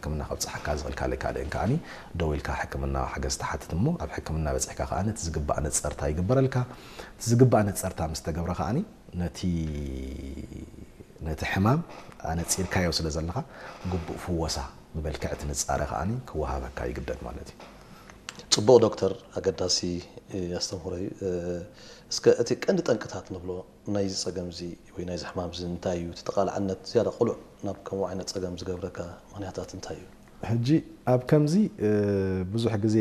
ሕክምና ከብፅሓካ ዝኽእል ካልእ ካልእን ከዓኒ ደው ኢልካ ሕክምና ሓገዝ ትሓትት እሞ፣ ኣብ ሕክምና በፂሕካ ከዓኒ እቲ ዝግባእ ነፀርታ ይግበረልካ። እቲ ዝግባእ ነፀርታ ምስ ተገብረ ከዓኒ ነቲ ነቲ ሕማም ኣነፂርካዮ ስለ ዘለኻ፣ ግቡእ ፍወሳ ብመልክዕ እቲ ንፃረ ከዓኒ ክወሃበካ ይግደድ ማለት እዩ። ጽቡቕ ዶክተር፣ ኣገዳሲ ኣስተምህሮ እዩ። እስከ እቲ ቀንዲ ጠንቅታት ንብሎ ናይዚ ጸገም እዚ ወይ ናይዚ ሕማም እዚ እንታይ እዩ? እቲ ተቓላዕነት ዝያዳ ቅሉዕ ናብ ከምኡ ዓይነት ጸገም ዝገብረካ ምኽንያታት እንታይ እዩ? ሕጂ ኣብ ከምዚ ብዙሕ ግዜ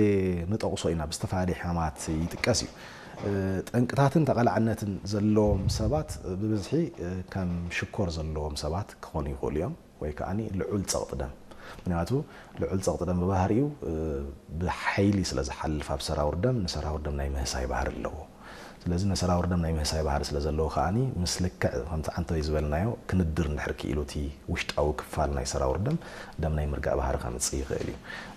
ንጠቕሶ ኢና፣ ብዝተፈላለየ ሕማማት ይጥቀስ እዩ። ጠንቅታትን ተቓላዕነትን ዘለዎም ሰባት ብብዝሒ ከም ሽኮር ዘለዎም ሰባት ክኾኑ ይኽእሉ እዮም። ወይ ከዓ ልዑል ጸቕጢ ደም። ምክንያቱ ልዑል ጸቕጢ ደም ብባህሪኡ ብሓይሊ ስለ ዝሓልፍ ኣብ ሰራውር ደም፣ ንሰራውር ደም ናይ ምህሳይ ባህሪ ኣለዎ። ስለዚ ንሰራውር ደም ናይ ምህሳይ ባህሪ ስለ ዘለዎ ከዓ ምስ ልክዕ ከምቲ ዓንተወይ ዝበልናዮ ክንድር እንድሕር ክኢሉ እቲ ውሽጣዊ ክፋል ናይ ሰራውር ደም፣ ደም ናይ ምርጋእ ባህሪ ከምፅእ ይኽእል እዩ።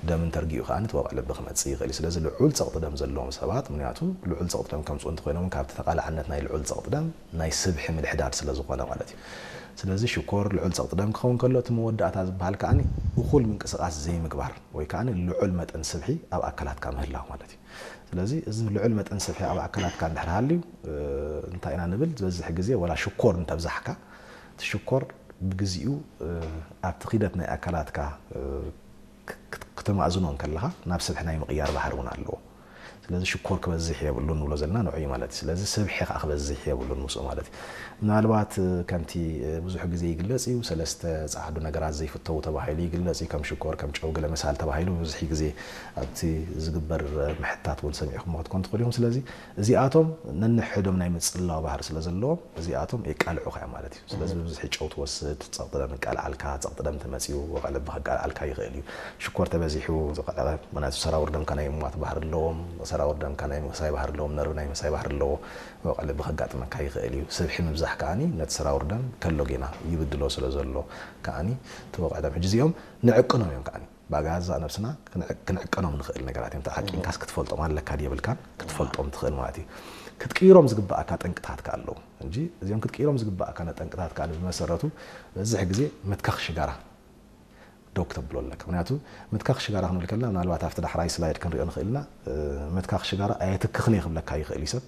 ደም እንተርጊኡ ከዓ እቲ ወቕዒ ልቢ ክመፅእ ይኽእል እዩ። ስለዚ ልዑል ጸቕጢ ደም ዘለዎም ሰባት፣ ምክንያቱ ልዑል ጸቕጢ ደም ከምፅኡ እንተኮይኖም ካብቲ ተቓላዕነት ናይ ልዑል ጸቕጢ ደም ናይ ስብሒ ምድሕዳድ ስለ ዝኾነ ማለት እዩ። ስለዚ ሽኮር ልዑል ጸቕጢ ደም ክኸውን ከሎ እቲ መወዳእታ ዝበሃል ከዓኒ እኹል ምንቅስቓስ ዘይምግባር ወይ ከዓኒ ልዑል መጠን ስብሒ ኣብ ኣካላትካ ምህላው ማለት እዩ። ስለዚ እዚ ልዑል መጠን ስብሒ ኣብ ኣካላትካ እንድሕር ሃልዩ እንታይ ኢና ንብል ዝበዝሕ ግዜ ወላ ሽኮር እንተብዛሕካ እቲ ሽኮር ብግዚኡ ኣብቲ ኺደት ናይ ኣካላትካ ክተማእዝኖ እንከለኻ ናብ ስብሒ ናይ ምቕያር ባህሪ እውን ኣለዎ። ስለዚ ሽኮር ክበዝሕ የብሉን ንብሎ ዘለና ንዑ እዩ ማለት እዩ። ስለዚ ስብሒ ከዓ ክበዝሕ የብሉን ምስኡ ማለት እዩ። ምናልባት ከምቲ ብዙሕ ግዜ ይግለጽ እዩ፣ ሰለስተ ጸዓዱ ነገራት ዘይፍተዉ ተባሂሉ ይግለጽ እዩ። ከም ሽኮር፣ ከም ጨው፣ ገለ መሳል ተባሂሉ ብዙሕ ግዜ ኣብቲ ዝግበር ምሕታት እውን ሰሚዕኹም ክትኮን ትኽእሉ እዮም። ስለዚ እዚኣቶም ነንሕዶም ናይ ምጽላው ባህሪ ስለ ዘለዎም እዚኣቶም የቃልዑኻ እዮም ማለት እዩ። ስለዚ ብብዝሒ ጨው ትወስድ፣ ጸቕጢ ደም ይቃልዓልካ፣ ጸቕጢ ደም ተመጽዩ ወቕዒ ልቢ ከቃልዓልካ ይኽእል እዩ። ሽኮር ተበዚሑ ዝቐለለ፣ ምክንያቱ ሰራውር ደምካ ናይ ምሟት ባህሪ ኣለዎም፣ ሰራውር ደምካ ናይ ምክሳይ ባህሪ ኣለዎም፣ ነርቭ ናይ ምክሳይ ባህሪ ኣለዎ። ወቕዒ ልቢ ከጋጥመካ ይኽእል እዩ። ስብሒ ምብዛሕ ከዓኒ ነቲ ሰራውር ደም ከሎ ጌና ይብድሎ ስለ ዘሎ ከዓኒ እቲ ወቕዒ ደም ሕጂ እዚኦም ንዕቅኖም እዮም ከዓኒ ብገዛእ ነብስና ክንዕቀኖም ንኽእል ነገራት እዮም። ተዓቂንካስ ክትፈልጦም ኣለካ ድየብልካን ክትፈልጦም ትኽእል ማለት እዩ። ክትቅይሮም ዝግበኣካ ጠንቅታት ከ ኣለዉ እንጂ እዚኦም ክትቅይሮም ዝግበኣካ ጠንቅታት ከ ብመሰረቱ በዝሕ ግዜ ምትካኽ ሽጋራ ደው ክተብሎ ኣለካ። ምክንያቱ ምትካኽ ሽጋራ ክንብል ከለና ምናልባት ኣብቲ ዳሕራይ ስላይድ ክንሪኦ ንኽእል ኢና። ምትካኽ ሽጋራ ኣየትክኽን እየ ክብለካ ይኽእል እዩ ሰብ።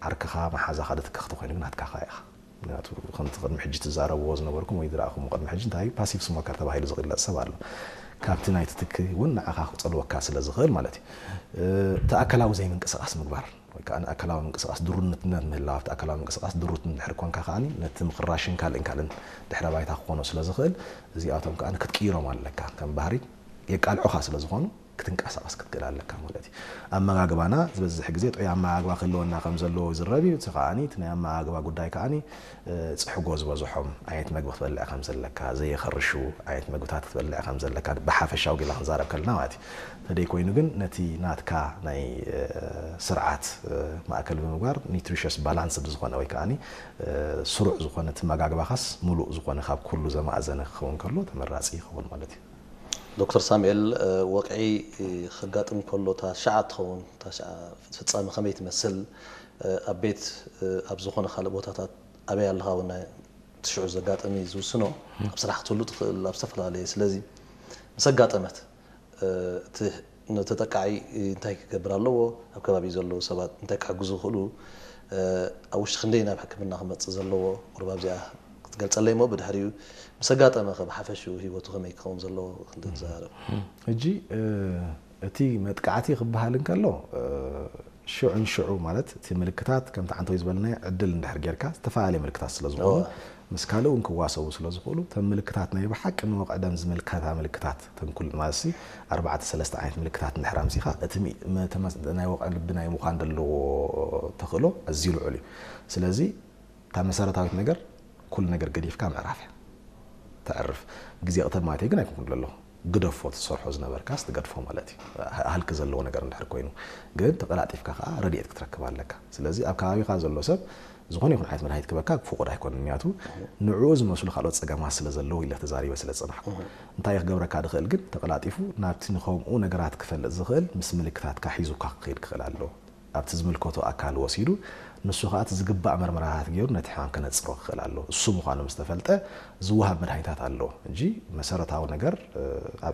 ዓርክኻ መሓዛኻ ድትክኽ ተኾይኑ ግን ናትካኻ ኢኻ። ምክንያቱ ከምቲ ቅድሚ ሕጂ ትዛረብዎ ዝነበርኩም ወይ ዝረኣኹም ቅድሚ ሕጂ እንታይ ፓሲቭ ስሞከር ተባሂሉ ዝግለጽ ሰብ ኣሎ። ካብቲ ናይ ትትኪ እውን ንዓኻ ክጸልወካ ስለ ዝኽእል ማለት እዩ። እቲ ኣካላዊ ዘይምንቅስቓስ ምግባር ወይ ከዓ ኣካላዊ ምንቅስቓስ ድሩትነት ምህላው ኣብቲ ኣካላዊ ምንቅስቓስ ድሩት እንድሕር ኮንካ ከዓኒ ነቲ ምቕራሽን ካልእን ካልእን ድሕረ ባይታ ክኾኖ ስለ ዝኽእል እዚኣቶም ከዓኒ ክትቅይሮም ኣለካ። ከም ባህሪ የቃልዑኻ ስለ ዝኾኑ ክትንቀሳቐስ ክትክእል ኣለካ ማለት እዩ። ኣመጋግባና ዝበዝሕ ግዜ ጥዑይ ኣመጋግባ ክህልወና ከም ዘለዎ ይዝረብ እዩ። እቲ ከዓኒ እቲ ናይ ኣመጋግባ ጉዳይ ከዓኒ ፅሕጎ ዝበዝሖም ዓይነት መግቢ ክትበልዕ ከም ዘለካ፣ ዘየኸርሹ ዓይነት መግብታት ክትበልዕ ከም ዘለካ ብሓፈሻዊ ጌላ ክንዛረብ ከለና ማለት እዩ። እንተደይ ኮይኑ ግን ነቲ ናትካ ናይ ስርዓት ማእከል ብምግባር ኒትሪሽስ ባላንስድ ዝኾነ ወይ ከዓኒ ስሩዕ ዝኾነ እቲ ኣመጋግባኻስ ሙሉእ ዝኾነ ካብ ኩሉ ዘማእዘነ ክኸውን ከሎ ተመራፂ ይኸውን ማለት እዩ። ዶክተር ሳሙኤል፣ ወቕዒ ከጋጥም ከሎ እታ ሻዓ ትኸውን፣ እታ ሻዓ ፍጻመ ከመይ ትመስል? ኣብ ቤት፣ ኣብ ዝኾነ ካልእ ቦታታት ኣበይ ኣለኻ እውን እቲ ሽዑ ዘጋጠመ እዩ ዝውስኖ። ኣብ ስራሕ ክትህሉ ትኽእል፣ ኣብ ዝተፈላለየ። ስለዚ ምስ ኣጋጠመት እቲ ንተጠቃዒ እንታይ ክገብር ኣለዎ? ኣብ ከባቢ ዘለዉ ሰባት እንታይ ክሕግዙ ይኽእሉ? ኣብ ውሽጢ ክንደይ ናብ ሕክምና ክመጽእ ዘለዎ? ቁሩብ ኣብዚኣ ክትገልጸለይ እሞ ብድሕሪኡ ምስ ኣጋጠመ ከ ብሓፈሽኡ ህይወቱ ከመይ ክኸውን ዘለዎ ክንዲ ንዛረብ። ሕጂ እቲ መጥቃዕቲ ክበሃል እንከሎ ሽዑ ንሽዑ ማለት እቲ ምልክታት ከምቲ ዓንተወይ ዝበልናዮ ዕድል እንድሕር ጌርካ ዝተፈላለየ ምልክታት ስለ ዝኾኑ ምስ ካልእ እውን ክዋሰቡ ስለ ዝኽእሉ እተን ምልክታት ናይ ብሓቂ ንወቕዒ ደም ዝምልከታ ምልክታት ተንኩል ማለት ኣርባዕተ ሰለስተ ዓይነት ምልክታት እንድሕር ኣምፂኻ እቲ ናይ ወቕዒ ልቢ ናይ ምዃን ዘለዎ ተኽእሎ ኣዝዩ ልዑል እዩ። ስለዚ እታ መሰረታዊት ነገር ኩሉ ነገር ገዲፍካ ምዕራፍ እያ። ተዕርፍ ግዜ ቅተል ማለት ግን ኣይኮንኩን ኣለኹ ግደፎ ትሰርሖ ዝነበርካስ ትገድፎ ማለት እዩ። ሃልኪ ዘለዎ ነገር እንድሕር ኮይኑ ግን ተቀላጢፍካ ከዓ ረድኤት ክትረክብ ኣለካ። ስለዚ ኣብ ከባቢኻ ዘሎ ሰብ ዝኾነ ይኹን ዓይነት መድሃኒት ክበካ ፍቁድ ኣይኮነን። ምክንያቱ ንዕኡ ዝመስሉ ካልኦት ጸገማት ስለ ዘለዉ ኢለ ተዛሪበ ስለ ዝጸናሕኩ እንታይ ክገብረካ ድኽእል ግን ተቀላጢፉ ናብቲ ንኸምኡ ነገራት ክፈልጥ ዝኽእል ምስ ምልክታትካ ሒዙካ ክኸይድ ክኽእል ኣለዎ። ኣብቲ ዝምልከቶ ኣካል ወሲዱ ንሱ ከዓ እቲ ዝግባእ መርመራታት ገይሩ ነቲ ሕማም ከነፅሮ ክኽእል ኣለዎ። እሱ ምዃኑ ምስ ተፈልጠ ዝወሃብ መድሃኒታት ኣለዎ እንጂ መሰረታዊ ነገር ኣብ